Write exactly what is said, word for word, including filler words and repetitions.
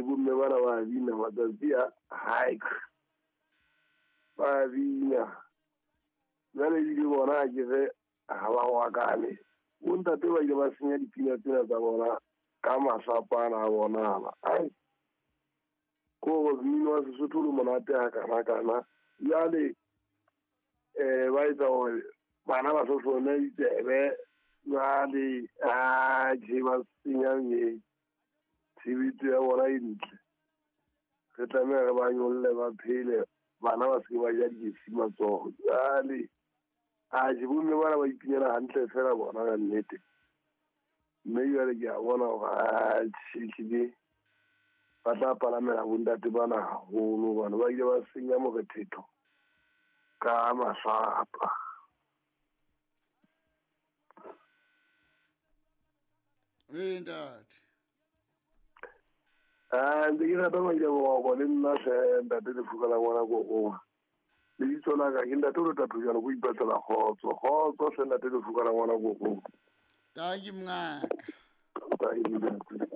bomme bana ba bina matsatsi a haik ba bina jwale ebile bona ha ke re ha ba wakane bontate ba ile ba senya dipina tsena tsa bona ka masapana a bona ai ko mmino wa Sesotho le monate ha kana kana jwale eh ba etsa hore bana ba sohlone ditsebe jwale atjhe ba senya tshebetso ya bona e ntle. Re tlameha re ba nyolle ba phele bana ba se ke ba ja dikesi matsoho jwale atjhe bomme bana ba ipinela hantle fela bona ka nnete. Mme jwale ke a bona hore atjhe ehlile ba tla palamela bontate bana haholo hobane ba ile ba senya morethetho ka masapa. Ee ntate. Ah, ntse ke rata maile boroko le nna hle ntate Lefuka la ngwana koko. Lebitso la ka ke ntate o le tatho jalo ko ipatlela kgotso. Kgotso hle ntate Lefuka la ngwana koko. Tanki mongaka. Tanki ntate.